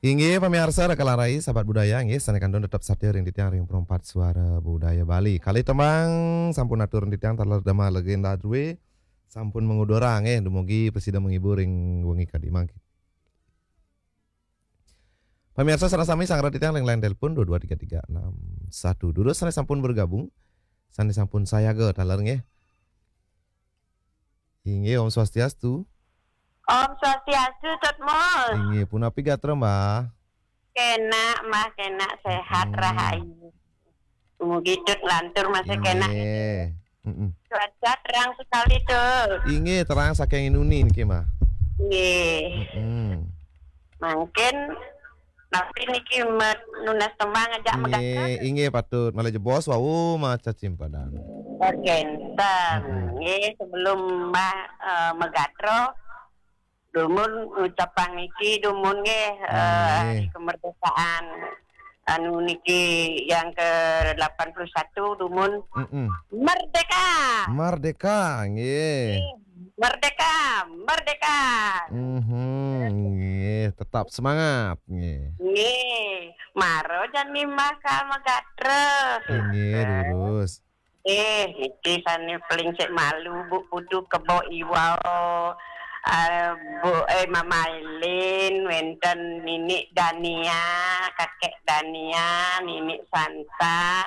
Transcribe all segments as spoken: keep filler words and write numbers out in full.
Inggih pamiarsa Raka Larai, sahabat budaya, inggih sané kantun tetep satia ring titiang ring Perempat Suara Budaya Bali. Kalih tembang sampun atur ring titiang taler Dama Legenda Due, sampun mangudara, nggih, dumugi prasida menghibur ring wengi kadi mangkin. Pamiarsa sareng sami sanggra titiang ring line telepon dua dua tiga tiga enam satu. Durus sané sampun bergabung, sané sampun sayaga taler, nggih. Inggih, Om Swastiastu. Om Swastiastu, Tut Mul. Inggih, punapi gatra, Mbah? Kénak, Mbah, kénak, séhat, Hmm. rahayu. Mugi Tut lantur masih kénak. Inggih. Mm-mm. Cuaca terang sekali, Tut. Inggih, terang saking inuni niki, Mbah. Nggih. Mm-mm. Mangkin, tapi niki met-, nunas tembang ajak Nggih, megatra. Inggih, patut. Malih jebos wau maca cimpadan. Kénten. Mm-mm. Nggih, sebelum Mbah, eh, megatra, dumun ngucapang niki, dumun nggih, eh, Nggih. Hari kemerdekaan anu niki yang ke delapan puluh satu, dumun Mm-mm. merdeka. Merdeka, nggih. Nggih, merdeka, merdeka. Mhm, nggih, tetap semangat, nggih. Nggih, mara jani Mbah ka megatra. Inggih, durus. Eh, niki sané paling sik malu, Bu Putu Kebo Iwau, eh, Bu, eh, Mama Elin, wénten Ninik Dania, Kakek Dania, Ninik Santa,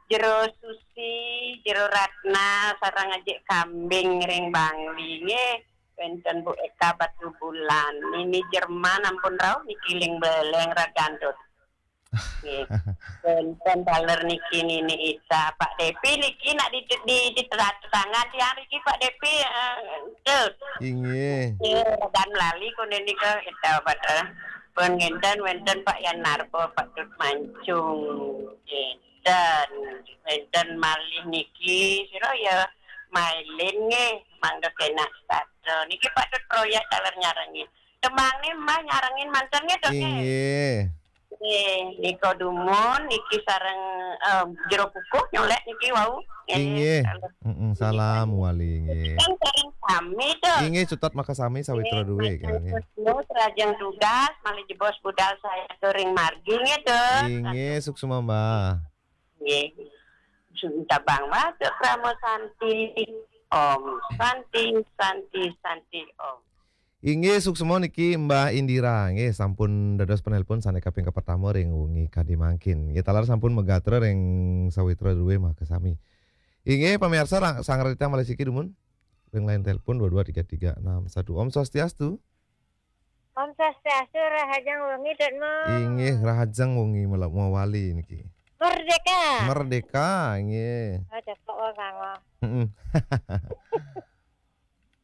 Jero Susi, Jero Ratna, sareng Ajik Kambing ring Bangli, nggih. Wénten Bu Eka Batubulan, Nini Jerman ampun rauh niki ling beleng ragan, Tut. Nggih. Wénten taler niki Nini Ita, Pak Depi niki nak di, di, di tetangga tiang niki Pak Depi, eh, Tut. Inggih. Nggih, ragan lali kuning nika kita pada pun ngénten wénten Pak Yan Narbo, Pak Tut Mancung. Nggih. Dan wénten malih niki, sira ya, Mailin nggih, mangda kénak sastra. Niki patut proyék taler nyarengin. Tembangné Mbah nyarengin manten nggih, Dok, nggih? Inggih. Nggih, nika dumun, niki sareng, em, Jero Kukuh nyolék niki wau. Nggih, Inggih. Salam. Mm-mm, salam wali, nggih. Kan sareng sami, Dok. Inggih, cutet makasami sawitra Nggih, duwe, matur nggih. Nuwun, rahajeng tugas, malih jebos budal saya ring margi nggih, Dok. Inggih, suksma, Mbah. Nggih. Cabang Batuk Krama Santi. Om Santi, Santi, Santi, Om. Inggih, suksma niki Mbah Indira. Nggih, sampun dados penelpon sané kaping kapertama ring wengi kadi mangkin. Nggih, taler sampun megatra ring sawitra duwe makasami. Inggih, pamiarsa, ra-, sanggra titiang malih siki dumun ring line telepon dua dua tiga tiga enam satu. Om Swastiastu. Om Swastiastu, rahajeng wengi, Dok Mul. Inggih, rahajeng wengi mela-, mawali niki. Merdeka. Merdeka, inggih. Oh, cepok wong kango. Heeh.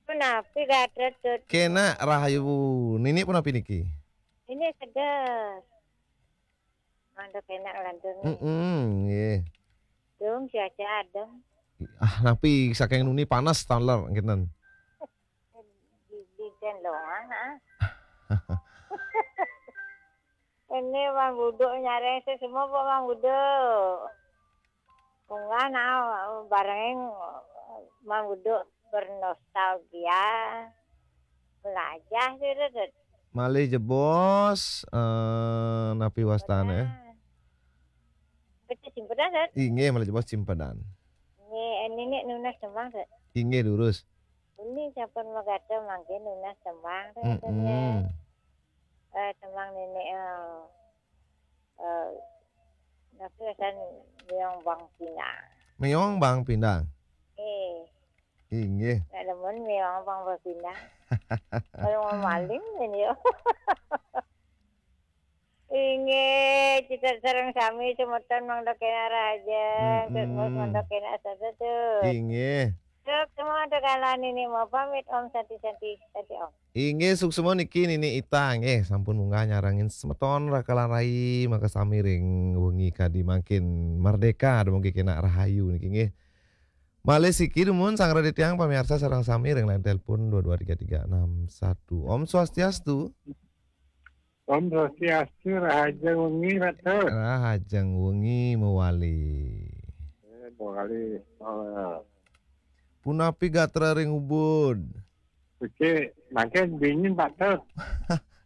Punapi gatra, Tut? Kénak rahayu. Nini punapi niki? Ini seger. Mangda kénak lantur. Heeh, nggih. Dung cuaca adem. Ah, napi saking nuni panas taler ngéten. Di, di den longan, ah. Ini Mang Buduk nyareng sesama apa Mang Buduk? Munggah nah, barengin Mang Buduk bernostalgia. Melajah sih, Dut. Malih jebos, eh, napi wastané? Betul, simpedan, Dut. Inggih, malih jebos simpedan. Nggih, ini nih nunas tembang, Dut. Inggih, durus. Ini sampun megatra mangkin nunas tembang, Dut. Mm-mm. Eh, tembang nini, eh, eh, napi wastané Méong Bang Pindang. Méong Bang Pindang. Eh. Inggih. Nak demen Méong Bang Pindang. Kalau mau maling ini ya. Inggih, cutet sareng sami semeton mangda kénak rahajeng, Tut Mul Mm-mm. mangda kénak sastra, Tut. Inggih. Tut, semua ada kalane nih, mau pamit, Om, santi, santi, santi, Om. Inggih, suksma niki Nini Ita, nggih, sampun munggah nyarengin semeton Raka lan Rai, makasami ring wengi kadi mangkin merdeka, dumugi kénak rahayu niki, nggih. Malih siki dumun sanggra titiang pamiarsa sareng sami ring line telepon dua dua tiga tiga enam satu. Om Swastiastu. Om Swastiastu, rahajeng wengi, Ratu. Rahajeng wengi mawali. Eh, mawali. Oh. Punapi gatra ring Ubud? Becik, mangkin dingin, Pak Tut.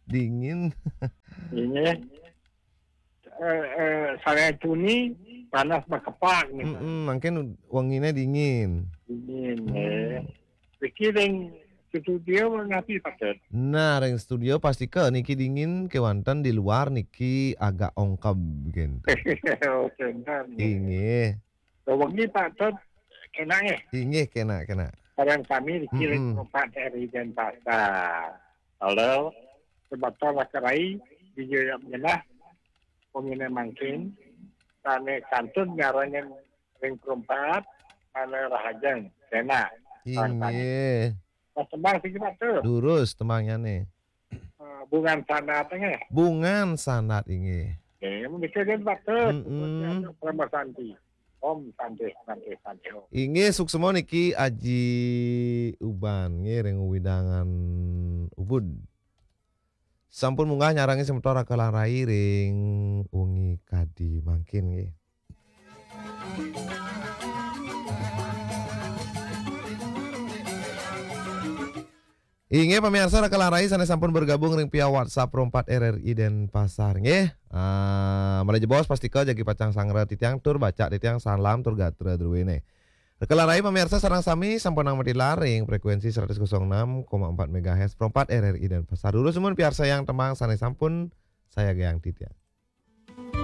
Dingin. Inggih. Eh, eh, sareng tuni panas makepak nih. Mm-mm, mangkin wengine dingin. Dingin, eh. Niki ring studio napi patut? Nah, ring studio pastika niki dingin, kewanten di luar niki agak ongkeb gitu. Oh, bener, nih. Inggih. Wengi patut kena, eh. Inggih, kena, kena. Sareng sami niki ring Mm-mm. Pro empat R I Denpasar. Halo, semeton Laka Rai di Jaya Menah, pemina mangkin, sane kantun nyarengan ring Pro empat, sane rahajeng, kena. Inggih. Nah, tembang siki patut. Durus tembangnya nih. Eh, Bungan Sandat, nggih. Bungan Sandat, inggih. Nggih, menika kan patut. Mm-mm. Puputnya Parama Santi. Om Santi, Santi, Santi, Om. Inggih, suksma niki Aji Uban, nggih, ring wewidangan Ubud. Sampun munggah nyarengi semeton Raka Larai ring wengi kadi mangkin, nggih. Inggih, pamiarsa Raka Larai sane sampun bergabung ring via WhatsApp Pro empat R R I Denpasar, nggih. Ah, malih jebos pastika jagi pacang sanggra titiang tur baca titiang salam tur gatra druene. Raka Larai pamiarsa sareng sami sampun nampi tilar ring frekuensi seratus kosong enam koma empat megahertz Pro empat R R I Denpasar. Durus sumun piarsayang tembang sane sampun sayagayang titiang.